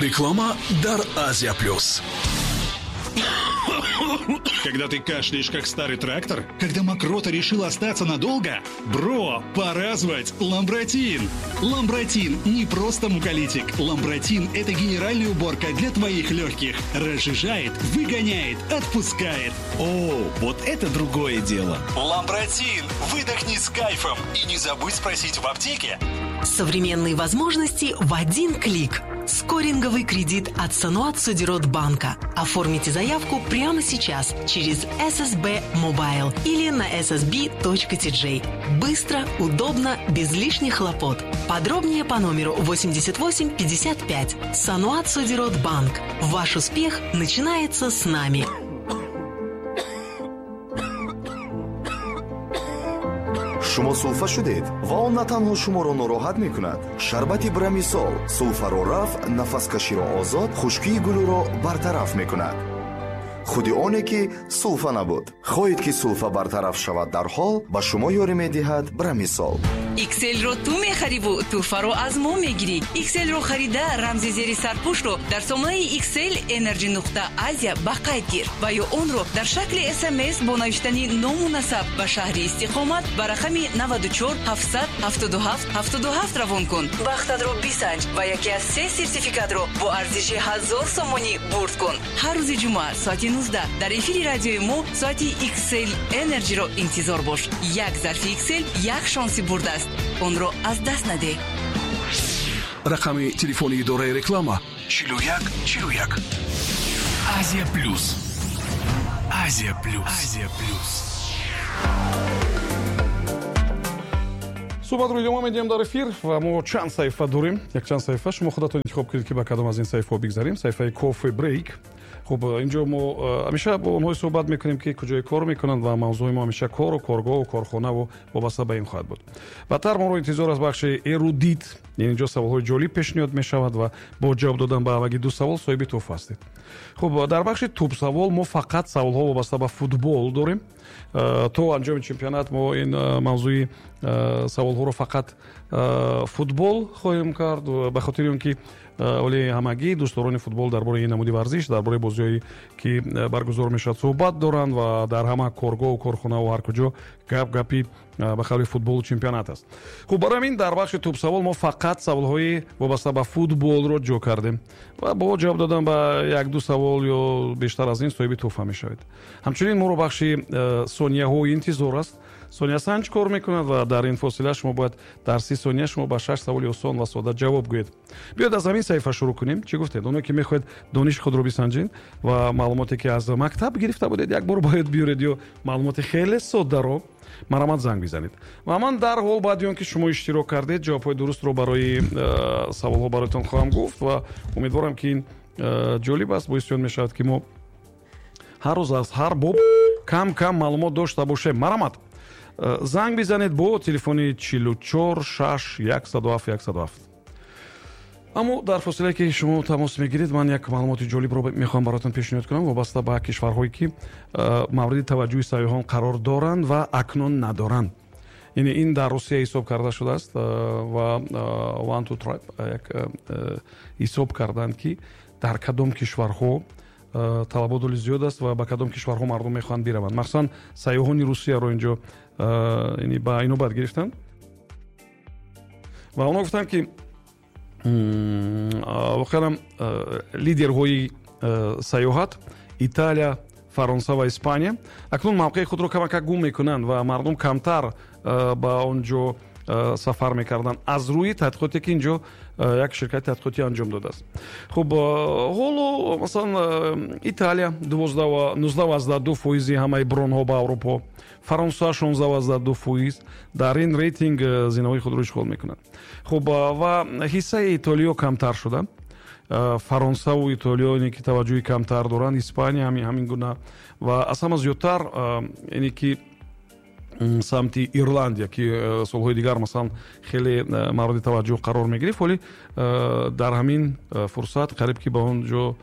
Реклама дар Азия Плюс. Когда ты кашляешь, как старый трактор? Когда мокрота решила остаться надолго? Бро, пора звать Ламбратин! Ламбратин не просто муколитик. Ламбратин – это генеральная уборка для твоих легких. Разжижает, выгоняет, отпускает. О, вот это другое дело. Ламбратин! Выдохни с кайфом и не забудь спросить в аптеке. Современные возможности в один клик. Скоринговый кредит от Саноат Содирот банка. Оформите заявку прямо сейчас через SSB Mobile или на ssb.tj. Быстро, удобно, без лишних хлопот. Подробнее по номеру 88 55. Саноат Содирот банк. Ваш успех начинается с нами. Шумо сулфа шудед ва он на танҳо шуморо нороҳат мекунад. Шарбати Брамисол сулфаро рафъ, нафаскаширо озод, хушкии гулӯро бартараф мекунад. Худи оне ки сулфа набуд. Хоҳед, ки сулфа бартараф шавад дарҳол, ба шумо ёрӣ медиҳад Брамисол. Икселро ту мехариву тӯҳфаро аз мо мегирӣ. Икселро харида, рамзи зери сарпӯшро дар сомонаи Иксел Energy нуқта Азия ба қайд гир ва ё онро дар шакли СМС бо навиштани ному насаб ба шаҳри истиқомат ба рақами 94 777 77 равон кун. Бахтатро бисанҷ ва яке аз се сертификатро бо арзиши 1000 сомонӣ бурд кун. Ҳар рӯзи ҷумъа соати 19 дар эфири радиои мо соати Иксел Energyро интизор бош. Як зарфи Иксел як шонси бурд аст, онро аз даст надеҳ. Рақами телефони идораи реклама: 41 41. Азия Плюс, Азия Плюс, Азия Плюс. Суҳбатро идома медиҳем дар эфир ва мо чанд саҳифа дорем, якчанд саҳифа. Шумо худатон интихоб кунед, ки ба кадом аз ин саҳифаҳо бигзарем. Саҳифаи кофе брейк. Хуб, инҷо мо ҳамеша бо онҳое суҳбат мекунем, ки куҷое кор мекунанд, ва мавзӯи мо ҳамеша кору коргоҳу корхонаву вобаста ба ин хоҳад буд. Баъдтар моро интизор аст бахши эрудит, инҷо саволҳои ҷолиб пешниҳод мешавад ва бо ҷавоб додан ба ҳамагӣ ду савол соҳиби тӯҳфа ҳастед. Хуб, дар бахши тӯбсавол мо фақат саволҳо вобаста ба футбол дорем. То анҷоми чемпионат мо ин мавзӯи саволҳоро фақат футбол хоҳем кард, ба хотири он ки оле ҳамагӣ дӯстдорони футбол дар бораи ин намуди варзиш, дар бораи бозиҳое ки баргузор мешавад, суҳбат доранд ва дар ҳама коргоҳу корхонаву ҳар куҷо гап гапи ба қавли футболу чемпионат аст. Хуб, барои ҳамин дар бахши тӯбсавол мо фақат саволҳои вобаста ба футболро ҷо кардем ва бо ҷавоб додан ба як-ду савол ё бештар аз ин соҳиби тӯҳфа мешавед. Ҳамчунин моро бахши сонияҳо интизор аст. Сониясанҷ кор мекунад ва дар ин фосила шумо бояд дар 30 сония шумо ба шаш саволи осон ва сода ҷавоб гӯед. Биёед, аз ҳамин саҳифа шурӯъ кунем. Чӣ гуфтед? Оное ки мехоҳед дониши худро бисанҷед ва маълумоте ки аз мактаб гирифта будед, як бор бояд биёред ё маълумоти хеле соддаро, марҳамат, занг бизанед ва ман дарҳол баъди он ки шумо иштирок кардед, ҷавобҳои дурустро барои саволҳо бароятон хоҳам гуфт. Ва умедворам, ки ин ҷолиб аст, боиси он мешавад, ки мо ҳар рӯз аз ҳар боб кам кам маълумот дошта бошем. Марҳамат, занг бизанед бо телефони 44 6 107 107. Аммо дар фосилае ки шумо тамос мегиред, ман як маълумоти ҷолибро мехоҳам бароятон пешниҳод кунам вобаста ба кишварҳое ки мавриди таваҷҷӯҳи сайёҳон қарор доранд ва акнун надоранд. Яъне ин дар Русия ҳисоб карда шудааст ва One Two Tribe як ҳисоб карданд, ки дар кадом кишварҳо талабот оли зиёд аст ва ба кадом кишварҳо мардум мехоҳанд бираванд. Махсусан сайёҳони Русияро инҷо ба инобат гирифтанд ва онҳо гуфтанд, ки воқеан лидерҳои сайёҳат Италия, Фаронса ва Испания акнун мавқеи худро камакак гум мекунанд ва мардум камтар ба он ҷо сафар мекарданд, аз рӯи тадқиқоте ки инҷо як ширкати тадқиқотӣ анҷом додааст. Хуб, ҳоло масалан Италия 19,2 фоизи ҳамаи бронҳо ба Аврупо, Фаронса 16,2 фоиз дар ин рейтинг зинаҳои худро ишғол мекунанд. Хуб, ва ҳиссаи Итолиё камтар шуда, Фаронсаву Итолиё ине ки таваҷҷӯҳи камтар доранд, Испания ҳамин гуна ва аз ҳама зиёдтар ине ки самти Ирландия, ки солҳои дигар масалан хеле мавриди таваҷҷӯҳ қарор мегирифт, вале дар ҳамин фурсат қариб ки ба он ҷо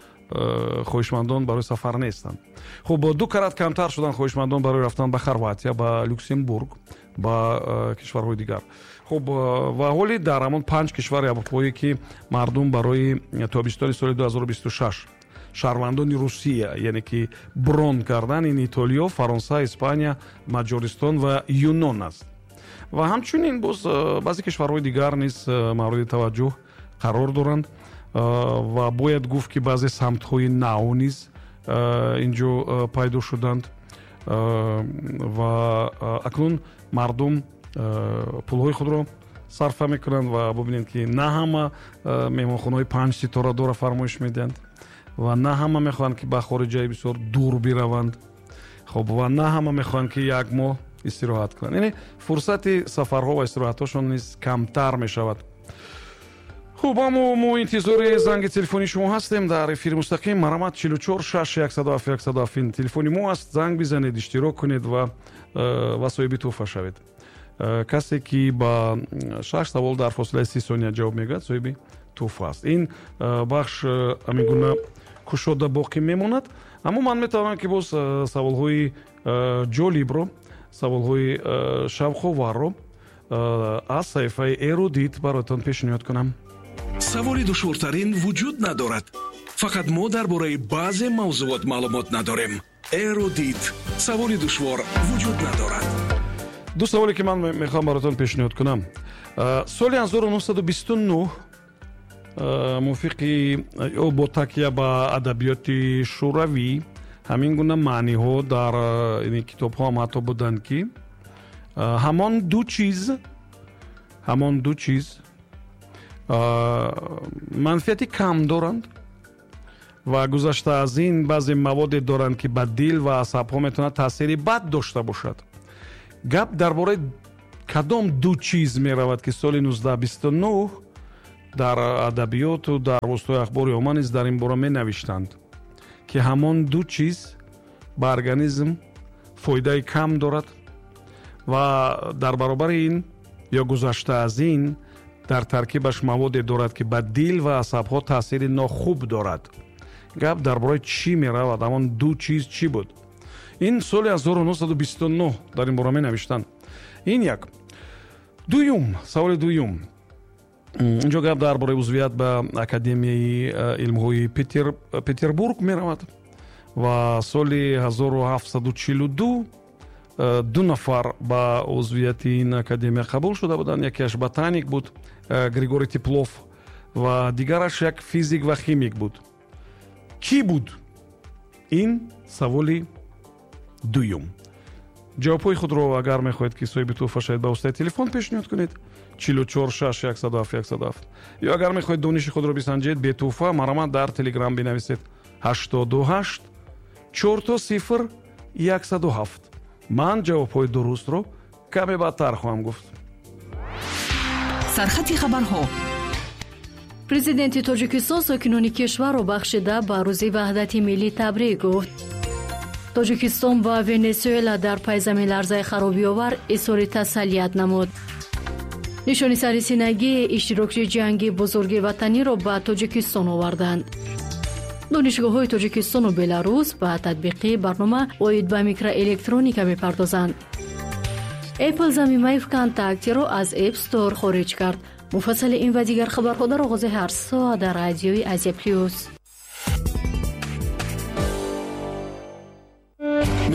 хоҳишмандон барои сафар нестанд. Хуб, ду карат камтар шуданд хоҳишмандон барои рафтан ба Хорватия, ба Люксембург, ба кишварҳои дигар. Хуб, ва ҳоли дар ҳамон 5 кишвари аврупоӣ, ки мардум барои тобистони соли 2026 шаҳрвандони Русия, яъне ки брон кардан, ин Итолиё, Фаронса, Испания, Маҷористон ва Юнон аст. Ва ҳамчунин боз баъзе кишварҳои дигар низ мавриди таваҷҷӯҳ қарор доранд. Ва бояд гуфт, ки баъзе самтҳои нав низ инҷо пайдо шуданд. Ва акнун мардум пулҳои худро сарфа мекунанд ва бубинед, ки на ҳама меҳмонхонаҳои 5 ситорадора фармоиш медиҳанд ва на ҳама мехоҳанд, ки ба хориҷаи бисёр дур бираванд. Хоб, ва на ҳама мехоҳанд, ки як моҳ истироҳат кунанд. Яъне фурсати сафарҳо ва истироҳатҳошон низ камтар мешавад. Хуб, аммо мо интизори занги телефони шумо ҳастем дар эфири мустақим. Марҳамат, 44 6 107 107 ин телефони мо аст. Занг бизанед, иштирок кунед ва соҳиби тӯҳфа шавед. Касе ки ба 6 савол дар фосилаи 30 сония ҷавоб мегӯяд, соҳиби тӯҳфа аст. Ин бахш ҳамин гуна кушода боқӣ мемонад, аммо ман метавонам, ки боз саволҳои ҷолибро, саволҳои шавқоварро аз саҳифаи Эрудит бароятон пешниҳод кунам. Саволи душвортарин вуҷуд надорад. Фақат мо дар бораи баъзе мавзуот маълумот надорем. Эрудит. Саволи душвор вуҷуд надорад. Ду саволе, ки ман мехоҳам бароятон пешниҳод кунам. Соли 1929 мувофиқи ё бо такя ба адабиёти шӯравӣ ҳамин гуна маъниҳо дар ин китобҳо ҳам ҳатто буданд, ки ҳамон ду чиз манфиати кам доранд ва гузашта аз ин баъзе маводе доранд, ки ба дил ва асабҳо метавонад таъсири бад дошта бошад. Гап дар бораи кадом ду чиз меравад, ки соли 1929 дар адабиёту дар воситаҳои ахбори омма низ дар ин бора менавиштанд, ки ҳамон ду чиз ба организм фоидаи кам дорад ва дар баробари ин ё гузашта аз ин дар таркибаш маводе дорад, ки ба дил ва асабҳо таъсири нохуб дорад? Гап дар бораи чӣ меравад? Ҳамон ду чиз чӣ буд? Ин соли 1929 дар ин бора менавиштанд. Ин як. Дуюм, саволи дуюм. Инҷо гап дар бораи узвият ба Академияи илмҳои Петербург меравад ва соли 1742 ду нафар ба узвияти ин академия қабул шуда буданд. Якеаш ботаник буд, Григорий Теплов, ва дигараш як физик ва химик буд. Кӣ буд? Ин саволи дуюм. Ҷавобҳои худро, агар мехоҳед, ки соҳиби тӯҳфа шавед, ба воситаи телефон пешниҳод кунед: 44 6 107 107. Ё агар мехоҳед дониши худро бисанҷед бетӯҳфа, марҳамат, дар Телеграм бинависед: 88 000 107. Ман ҷавобҳои дурустро каме баъдтар хоҳам гуфт. Сархати хабарҳо. Президенти Тоҷикистон сокинони кишварро бахшида ба Рӯзи ваҳдати миллӣ табрик гуфт. Тоҷикистон ба Венесуэла дар пай заминларзаи харобиовар изҳори тасаллият намуд. Нишони сарисинагии иштирокчии Ҷанги Бузурги Ватаниро ба Тоҷикистон оварданд. Донишгоҳҳои Тоҷикистону Беларус ба татбиқи барнома оид ба микроэлектроника мепардозанд. Apple замимаи ВКонтактеро аз App Store хориҷ кард. Муфассали ин ва дигар хабарҳо дар оғози ҳар соат дар радиои Азия Плюс.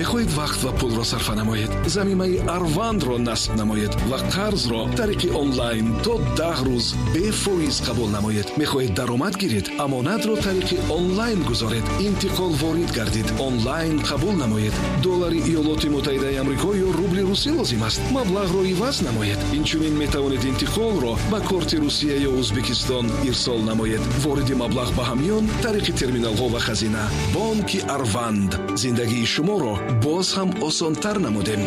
Мехоҳед вақт ва пулро сарфа намоед? Замимаи Арвандро насб намоед ва қарзро тариқи онлайн то 10 рӯз бефоиз қабул намоед. Мехоҳед даромад гиред? Амонатро тариқи онлайн гузоред, интиқол ворид гардид, онлайн қабул намоед. Доллари Иёлоти Муттаҳидаи Амрико ё рубли русӣ лозим аст? Маблағро иваз намоед. Инчунин метавонед интиқолро ба корти Русия ё Ӯзбекистон ирсол намоед. Вориди маблағ ба ҳамён тариқи терминалҳо ва хазина. Бонки Арванд, зиндагии шуморо боз ҳам осонтар намудем.